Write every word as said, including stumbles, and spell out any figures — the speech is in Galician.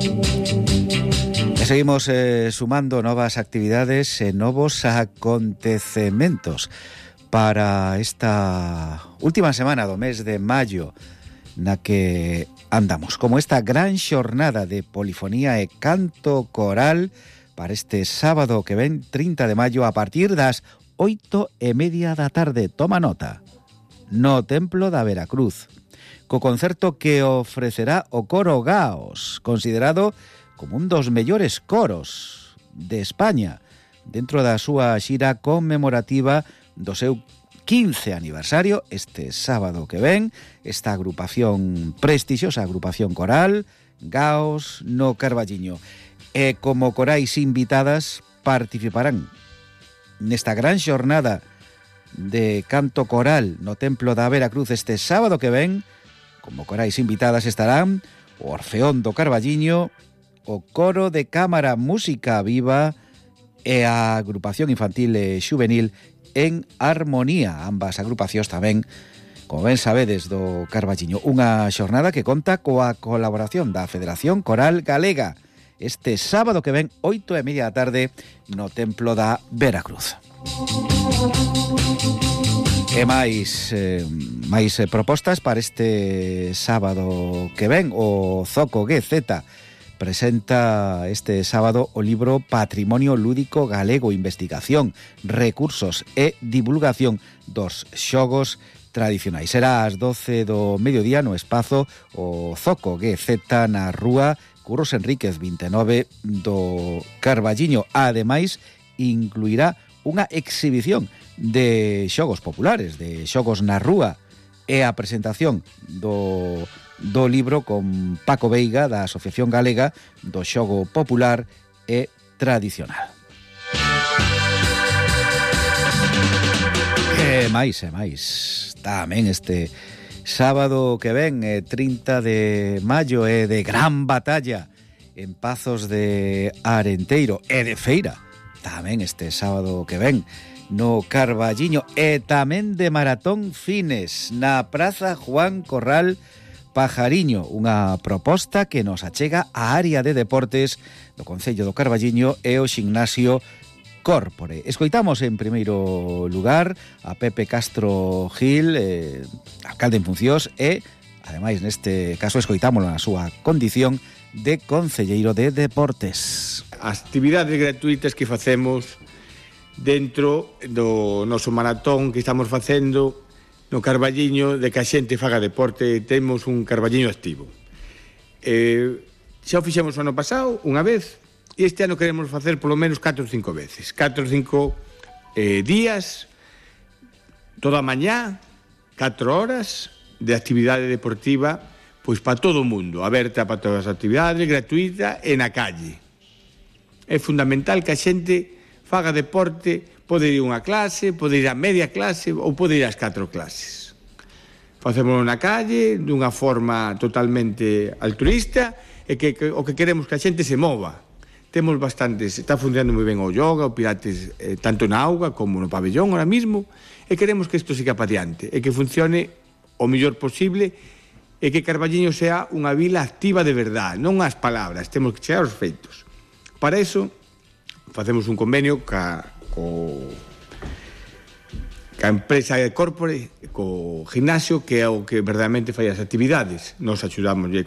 E seguimos eh, sumando novas actividades e novos acontecementos para esta última semana do mes de maio na que andamos, como esta gran xornada de polifonía e canto coral para este sábado que ven trinta de maio a partir das oito e media da tarde. Toma nota, no Templo da Veracruz, co concerto que ofrecerá o coro Gaos, considerado como un dos mellores coros de España, dentro da súa xira conmemorativa do seu quince aniversario, este sábado que ven, esta agrupación prestixiosa, agrupación coral Gaos no Carballiño. E como corais invitadas participarán nesta gran xornada de canto coral no Templo da Veracruz este sábado que ven. Como corais invitadas estarán o Orfeón do Carballiño, o Coro de Cámara Música Viva e a agrupación infantil e xuvenil En Armonía. Ambas agrupacións tamén, como ben sabedes, do Carballiño. Unha xornada que conta coa colaboración da Federación Coral Galega este sábado que ven oito e media da tarde no Templo da Veracruz. E máis, eh, máis eh, propostas para este sábado que ven. O Zoco G Z presenta este sábado o libro Patrimonio Lúdico Galego, Investigación, Recursos e Divulgación dos Xogos Tradicionais. Será ás doce do mediodía no espazo o Zoco G Z na rúa Curros Enríquez vinte e nove do Carballiño. Ademais, incluirá unha exhibición de xogos populares, de xogos na rúa, e a presentación do, do libro con Paco Veiga, da Asociación Galega do Xogo Popular e Tradicional. E máis, e máis, tamén este sábado que ven, trinta de maio, é de gran batalla en Pazos de Arenteiro e de feira tamén este sábado que ven no Carballiño, e tamén de maratón fines na Praza Juan Corral Pajariño, unha proposta que nos achega a área de deportes do Concello do Carballiño e o Ximnasio Córpore. Escoitamos en primeiro lugar a Pepe Castro Gil, eh, alcalde en funcións, e ademais neste caso escoitámoslo na súa condición de concelleiro de deportes. As actividades gratuitas que facemos dentro do noso maratón que estamos facendo no Carballiño, de que a xente faga deporte, temos un Carballiño activo. Eh, xa o fixemos o ano pasado unha vez, e este ano queremos facer polo menos catro ou cinco veces. catro ou cinco eh, días, toda a mañá, catro horas de actividade deportiva, pois para todo o mundo, aberta para todas as actividades, gratuita e na calle. É fundamental que a xente faga deporte, pode ir a unha clase, pode ir a media clase ou pode ir ás catro clases. Facémoslo na calle, dunha forma totalmente altruista, e que, que o que queremos que a xente se mova. Temos bastantes, está funcionando moi ben o yoga, o pilates, eh, tanto na auga como no pabellón ahora mismo, e queremos que isto siga para diante, e que funcione o mellor posible, e que Carballiño sea unha vila activa de verdade, non as palabras, temos que chegar aos feitos. Para iso, facemos un convenio ca, co, ca empresa de Córpore, co gimnasio, que é o que verdadeiramente fai as actividades. Nos axudamos económicamente.